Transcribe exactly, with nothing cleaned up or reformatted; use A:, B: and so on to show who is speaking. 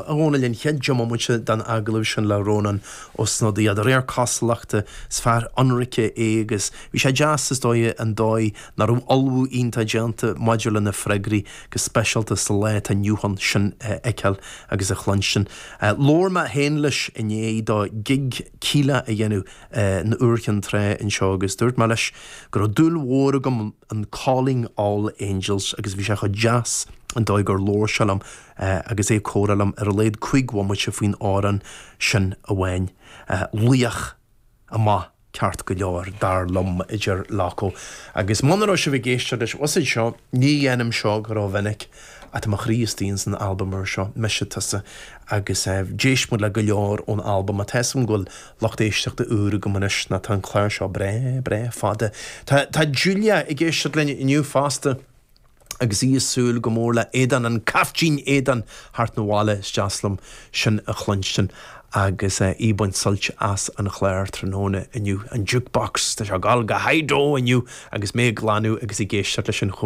A: a Dhónaill an chéad diomaite den agallamh sin le Rónán Ó Snodaigh de réir cosúlachta is fear ionraice é agus bhí sé deas is dóigh an dóigh nach raibh ullmhú iontach déanta maidir lena freagraí go speisialta sa lá atá inniu ann sin a fheiceáil agus a chluinstin. Labhair mé féin leis i ndiaidh dó gig Kíla a dhéanamh in Iúr Chinn Trá anseo agus dúirt mé leis go raibh dúil mhór agam in Calling All Angels agus bhí sé chomh deas an dóigh gur labhair sé liom agus é comhrá liom ar a laghad cúig bhomaite faoin amhrán sin amháin. Laoch amach ceart go leor dar liom idir Loco. Agus muna raibh sibh ag éisteacht leis usaid seo ní dhéanaim seo go rómhinic ach tá mo chroí istigh san albam úr seo Mise Tusa agus d'éist muid le go leor ón albam a Tá go bhfuil lucht éisteachta úr agam anois ná tá an clár seo breá breá fada. Tá Tá Julia ag éisteacht linn inniu fosta. agus í ag súil go mór le éadan an caiftín éadan thart na bhile deaslam sin a chluinstin agus í ag baint sult as an chlár tráthnóna inniu an jukebox Tá sé ag gabháil go high inniu agus mé ag glanadh agus ag éisteacht leis an